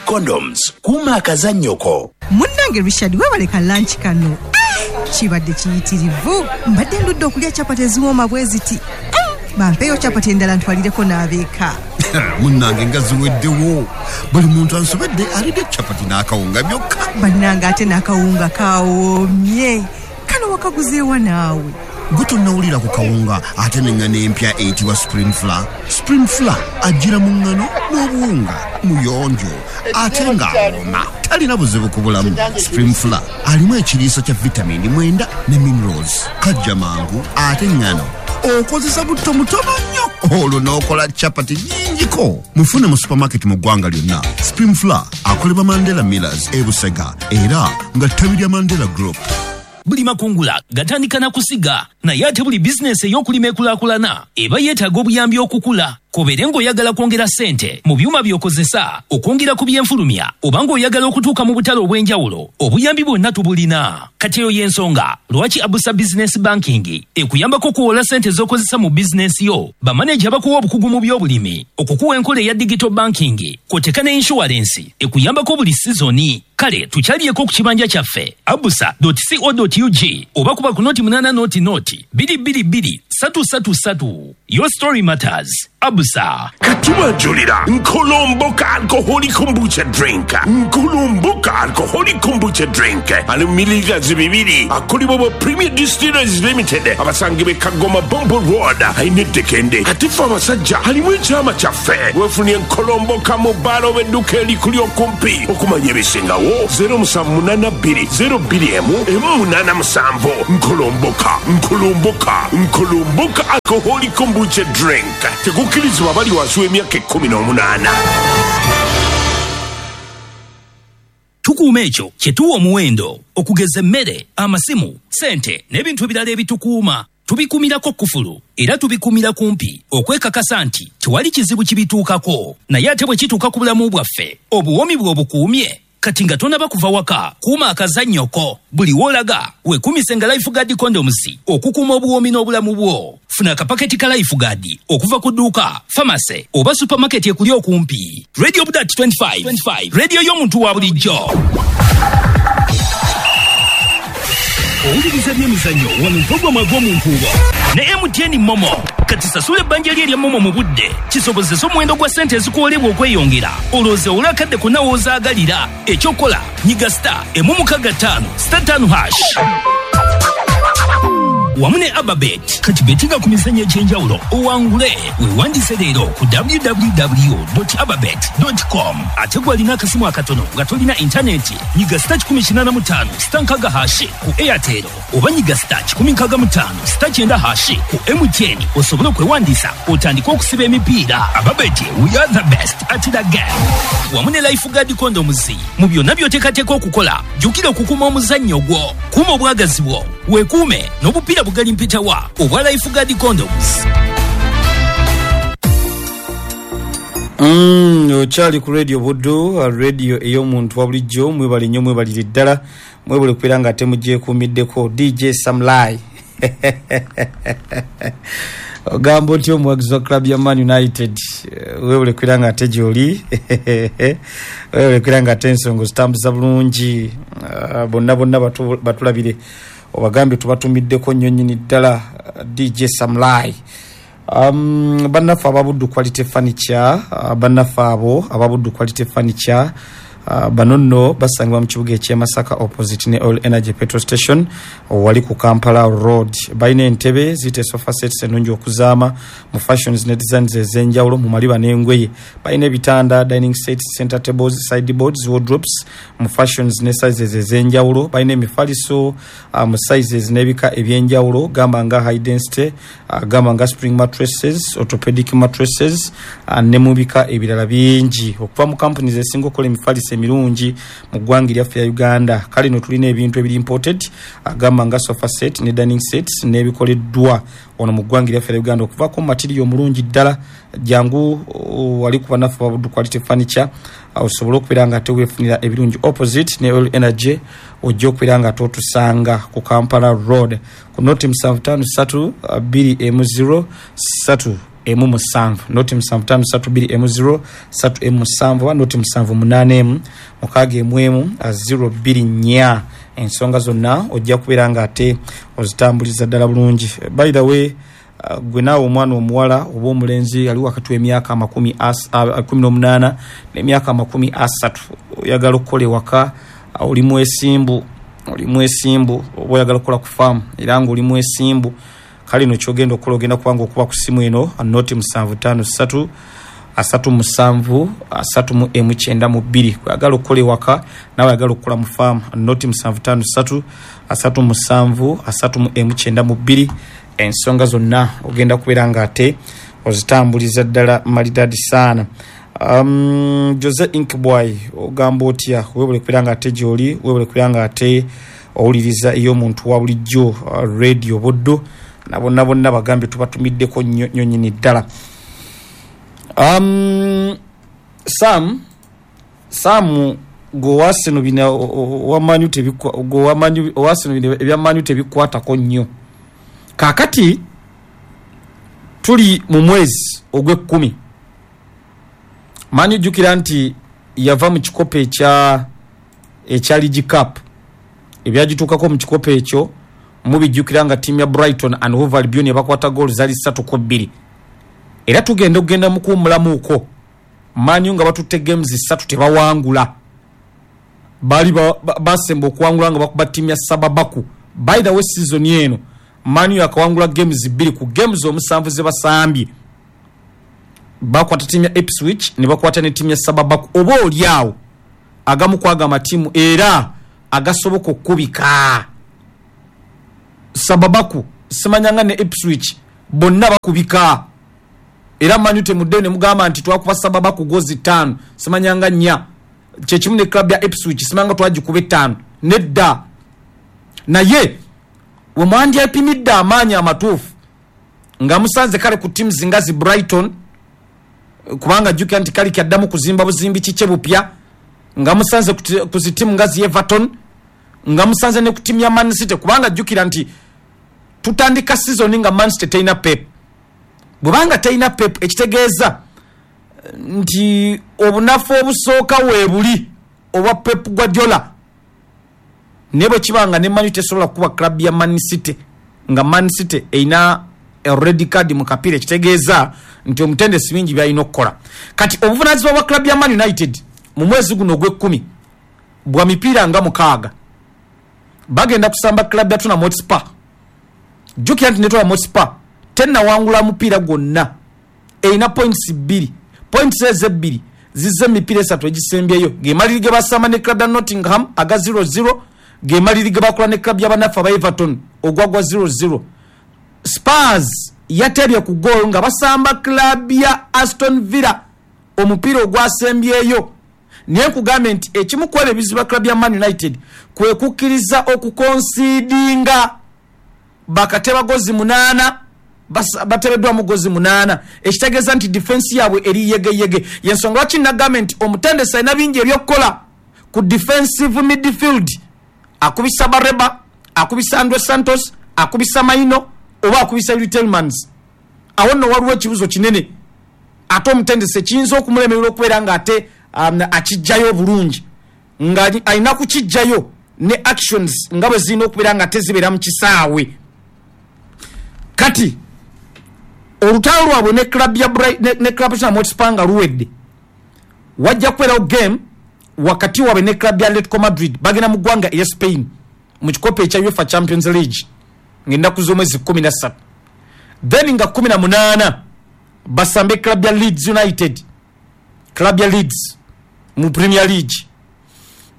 Condoms, kuuma akazannyo ko. Munnange Richard, webale ka lunch kano. Kibadde kiyitirivu. Mbadde ndudde okulya chapati eziwooma bwe ziti. Bampeeyo chapati endala ntwalireko n'abeeka. Munnange nga ziweddewo. Buli muntu ansobedde alidde chapati n'akawunga byokka. Bannange ate n'akawunga kawoomye. Kano wakaguzeewa naawe? Gwe tonnawulira ku kawunga ate n'eŋŋano empya eyitibwa Spring Flour. Spring Flour ajjira mu ŋŋano n'obuwunga, muyonjo ate ng'awooma, talina buzibu ku bulamu. Spring Flour alimu ekiriisa kya vitamini 9 ne minerals, kajja mangu ate ŋŋano okozesa butto mutono nnyo olwo n'okola chapati nnyingiko. Mufune mu supermarket mu ggwanga lyonna. Spring Flour akolebwa Mandela Millers e Busega era nga ttabi lya Mandela Group. Buli makungula gatandika na kusiga, naye ate buli bizinesi ey'okulima ekulaakulana eba yeetaaga obuyambi okukula. K'obeere ng'oyagala kwongera ssente mu byuma by'okozesa, okwongera ku byenfulumya, oba ng'oyagala okutuuka mu butale obw'enjawulo, obuyambi bwonna tubulina. Kati eyo y'ensonga lwaki Abusa Business Banking ekuyambako okuwola ssente z'okozesa mu bizinesi yo. Bamaneja bakuwa obukugu mu by'obulimi, okukuwa enkola eya digital banking, kw'oteeka ne insurance ekuyambako buli sizoni. Kale tukyaliyeko ku kibanja kyaffe abusa.co.ug oba kuba ku noti 8 noti noti 222 333. Your story matters. Abusa. Katubanjulira Nkolomboka alcoholic kombucha drink. Nkolomboka alcoholic kombucha drink ali mu mililiters 2, akolebwa ba Premier Distillers Limited, abasangibwa e Kagoma Bombo Road, alina eddekende. Ate ffe abasajja alimu ekyama kyaffe. Weefunye Nkolomboka mu bbaala oba edduuka erikuli okumpi. Okumanya ebisingawo 0782 02 187. Nkolomboka, Nkolomboka, Nkolomboka alcoholic kombucha drink. Tekukkirizibwa abali wansi w'emyaka 18. Tukuuma ekyo kye tuwa omuwendo, okugeza emmere, amasimu, ssente n'ebintu ebirala ebitukuuma. Tubikuumirako kkufulu era tubikuumira kumpi okwekakasa nti tewali kizibu kibituukako. Naye ate bwe kituuka ku bulamu bwaffe, obuwoomi bwe obukuumye. Kati nga tonaba kuva waka, kuuma akazannyo ko. Buli w'olaga weekuumise nga Lifeguard Condoms okukuuma obuwoomi n'obulamu bwo. Funa akapaketi ka Lifeguard okuva ku dduuka, famase oba supermarket ekuli okumpi. Radio Budat 25, radio y'omuntu wa bulijjo. Owuliriza by'emizannyo wano mpogoma gw'omunkuubo ne MTN Momo. Kati sasula ebbanja lye erya Momo mu budde kisobozese omuwendo gwa ssente ezikuwolebwa okweyongera, olowooze owule akadde konna w'ozaagalira. Ekyokukola nyiga star 165 star 5 hash wamu ne Ababet. Kati betinga ku mizannyo egy'enjawulo owangule. Weewandiise leero ku www.ababet.com. Ate gwe alina akasimu akatono nga tolina intaneti, nyiga star 185 star 6 hash ku Airtel oba nyiga star 165 star 9 hash ku MTN osobole okwewandiisa otandike okusiba emipiira. Ababet, we are the best at the game. Wamu ne Lifeguard Condoms. Mu byonna by'oteekateeka okukola, jjukira okukuuma omuzannyo gwo, kuuma obwagazi bwo, weekuume n'obupiira bugali mpitawa obwa Lifeguard Condoms. Okyali ku Radio Buddu, radio ey'omuntu wa bulijjo. Mwebale nnyo, mwebalire ddala, mwebale okubeera nga temugyekuumiddeko. DJ Samlai, ogamba otya omuwagizi wa club ya Man United? Webale kubeera nga ate gyoli, webale kubeera nga ate ensonga ozitambuza bulungi. Bonna bonna batulabire, obagambye tubatumiddeko nnyo nnyini ddala. DJ Samlai. Bannaffe ababuddu Quality Furniture, bannaffe abo ababuddu Quality Furniture, bano nno basangibwa mu kibuga eky'e Masaka opposite ne Oil Energy Petrol Station wali ku Kampala Road. Balina entebe ziyite sofa sets ennungi okuzaama mu fashions ne designs ez'enjawulo mu maliba n'engoye. Balina ebitanda, dining sets, center tables, sideboards, wardrobes mu fashions ne sizes ez'enjawulo. Balina emifaliso mu sizes n'ebika eby'enjawulo, gamba nga high density, gamba nga spring mattresses, orthopedic mattresses, ne mu bika ebirala bingi okuva mu companies ezisinga okukola emifaliso emirungi mu ggwanga eryaffe ya Uganda. Kale no tulina ebintu ebiri imported, gamba nga sofa set ne dining sets n'ebikoleddwa wano mu ggwanga eryaffe ya Uganda okuvaako mu material omulungi ddala. Jangu wali ku bannaffe ba Buddu Quality Furniture, osobole okubeera nga ate weefunira ebirungi opposite ne Oil Energy. Ojja okubeera nga ate otusanga ku Kampala Road ku noti 753 2 0 3 emu 7 0 7 5 3 2 emu 0 3 emu 7 0 7 8 emu 6 emu emu 0 2 4. Ensonga zonna ojja kubeera nga ate ozitambuliza ddala bulungi. By the way, gwe naawe omwana omuwala oba omulenzi ali wakati w'emyaka 18 n'emyaka 30, oyagala okukola ewaka, oli mwesimbu, oba oyagala okukola ku faamu era nga oli mwesimbu, kale no kyogenda okukola ogenda kubanga okuba ku simu eno 0 7 5 3 3 7 3 92. Oyagala okukola ewaka nawe oyagala okukola mu faamu, 0 7 5 3 3 7 3 92. Ensonga zonna ogenda kubeera nga ate ozitambuliza ddala malidadi saana. Jose Inkboy, ogamba otya? Webale kubeera nga ate gyoli, webale kubeera nga ate owuliriza ey'omuntu wa bulijjo radio Buddu, na bonna bonna bagambye tubatumiddeko nnyo nnyo nnyini ddala. Sam gwe bina owamanyu tebikwa, gwe owamanyu owasino bina ebyamanyu tebikwatako nnyo. Kakati tuli mu mwezi ogw'ekkumi, Manu jjukira nti yava mu kikopo ekya League Cup, ebyagituukako mu kikopo ekyo mubijjukira nga ttiimu ya Brighton and Hove Albion yabakwata goal zaali 3-2. Era tugenda okugenda mu kuwummulamuuko, Manu nga batutte games 3 tebawangula, baali basemba okuwangula nga bakuba ttiimu ya Sababaku. By the way, season eno Manu yakawangula games 2 ku games 7 ze basambye. Bakwata ttiimu ya Ipswich ne bakwata ne ttiimu ya Sababaku, oba oli awo agamu kwaga amatiimu era agasoboka okukubika. Sababaku simanyanga ne Ipswich bonna bakubika, era Manu temuddeyo ne mugamba nti twakuba Sababaku gozi 5 simanyanga 4, kyekimu ne club ya Ipswich simanyanga twagikuba 5 nedda. Naye we mwandyepimidde amaanyi amatuufu nga musanze kale ku teams nga zi Brighton, kubanga jjukira nti kali kyaddamu kuzimba buzimbi kikye bupya, nga musanze ku zi tiimu nga zi Everton, nga musanze ne ku tiimu ya Man City, kubanga jjukira nti tutandika season nga Man City terina Pep. Bwebanga terina Pep, ekitegeeza nti obunafu obusooka weebuli obwa Pep Guardiola. Naye bwe kibanga ne Man tesobola kuba club ya Man City nga Man City erina red card mu kapiira, ekitegeeza nti omutendesi bingi byalina okukola. Kati obuvunaanyizibwa bwa club ya Man United mu mwezi guno ogw'ekkumi bwa mipiira nga 6. Bagenda kusamba club ya Tottenham Hotspur. Jjukira nti ne Tottenham Hotspur tennawangula mupiira gwonna, erina points 2. Points ezo 2 zizze emipiira 3 egisembyeyo, ge maliri ge basamba ne club ya Nottingham aga 0-0, ge maliri ge bakola ne club y'abannaffe aba Everton ogwagwa 0-0. Spurs yatebye ku goal nga basamba club ya Aston Villa omupiira ogwasembyeyo. Naye nkugambye nti ekimu ku ebyo ebizibu club ya Man United kwe kukkiriza okukonsiidinga bakateba gozi 8, batebeddwamu gozi 8, ekitegeeza nti defense yaabwe eri yegeyege. Yensonga lwaki nagambye nti omutendesi alina bingi ebyokukola ku defensive midfield. Akubisa Bareba, akubisa Andre Santos, akubisa Maino oba akubisa Yuri Tielemans. Awo nno waliwo ekibuzo kinene ate omutendesi ekiyinza okumulemerera okubeera nga ate akijjayo obulungi, nga alina kukijjayo ne actions nga bwe zirina okubeera nga tezibeera mu kisaawe. Kati olutalo lwabwe ne club ya ne club ya Hotspur nga luwedde, wajja kubeerawo game wakati waabwe ne club ya Atletico Madrid. Bagenda mu ggwanga erya Spain mu kikopo ekya UEFA Champions League ng'ennaku z'omwezi 13, then nga 18 basambe club ya Leeds United, club ya Leeds mu Premier League,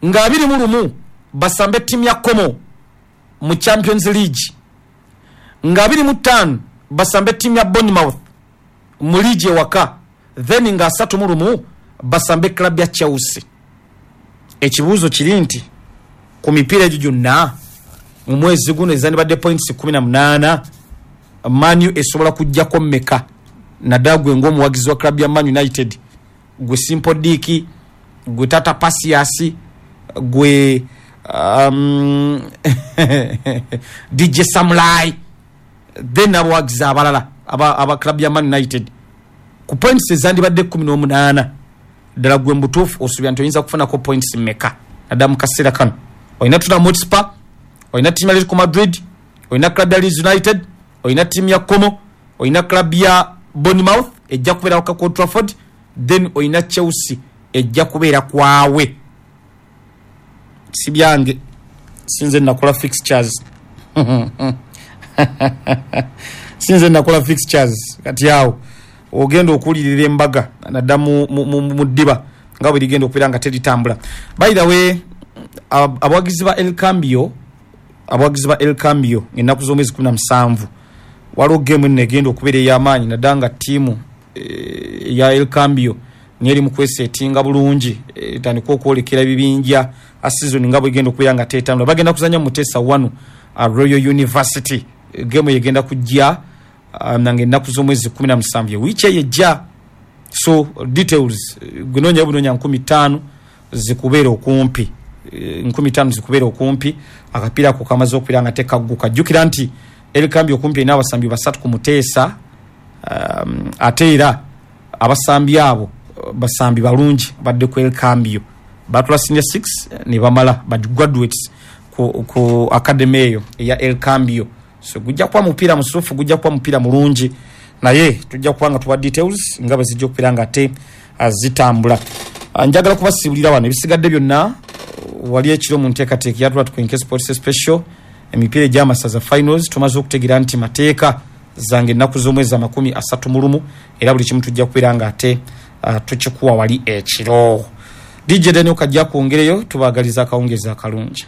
nga 21 basambe ttiimu ya Como mu Champions League, nga 25 basambe ttiimu ya Bournemouth mu liigi ewaka, then nga 31 basambe club ya Chelsea. Ekibuuzo kiri nti ku mipiira egyo gyonna mu mwezi guno ezandibadde points 18, Manu esobola kujjako mmeka? Naddala gwe ng'omuwagizi wa club ya Man United, gwe Simple Dick, gwe Tata Pasias, gwe DJ Samurai, then abawagizi abalala aba club ya Man United. Ku points ezandibadde 18, ddala gwe mubutuufu osuubira nti oyinza kufunako points mmeka naddala mu kaseera kano? Olina Tottenham Hotspur, olina ttiimu ya Atletico Madrid, olina club ya Leeds United, olina ttiimu ya Como, olina club ya Bournemouth ejja kubeera ku Old Trafford, then olina Chelsea ejja kubeera kwawe. Si byange, sinze nakola fixtures, sinze nakola fixtures. Kati awo ogenda okuwulirira embaga nadda mu ddiba nga bwe ligenda okubeera nga teritambula. By the way, abawagizi ba El Cambio, abawagizi ba El Cambio, ennaku z'omwezi 17 waliwo game eno egenda okubeera ey'amaanyi, naddala nga ttiimu eya El Cambio niyo eri mu kwesetinga bulungi, etandika okwolekera ebibinja a season nga bwegenda okubeera nga tetambula. Bagenda kuzanya mu Muteesa 1 Royal University. Game egenda kujja nange ennaku z'omwezi 17, wiiki eyo ejja. So details, gunoonya bunoonya 5000 zikubeera okumpi, 5000 zikubeera okumpi. Akapiira ako kamaze okubeera nga tekagguka. Jjukira nti El Cambio okumpi erina abasambi 3 ku Muteesa, ate era abasambi abo basambi balungi badde ku El Cambio, batula senior 6 ne bamala ba graduates ku academy eyo eya El Cambio. So gujja kuba mupiira musufu, gujja kuba mupiira mulungi, naye tujja kuba nga tuwa details nga bwe zijja okubeera nga ate zitambula. Njagala kubasiibulira wano, ebisigadde byonna wali ekiro mu nteekateeka ya Tulatwenke Sports Special, emipiira egy'amasaza finals tumaze okutegeera nti mateeka zange ennaku z'omwezi 31, era buli kimu tujja kubeera nga ate tukikuwa wali ekiro. DJ Daniel kajja kwongereyo, tubaagaliza akawungeezi akalungi.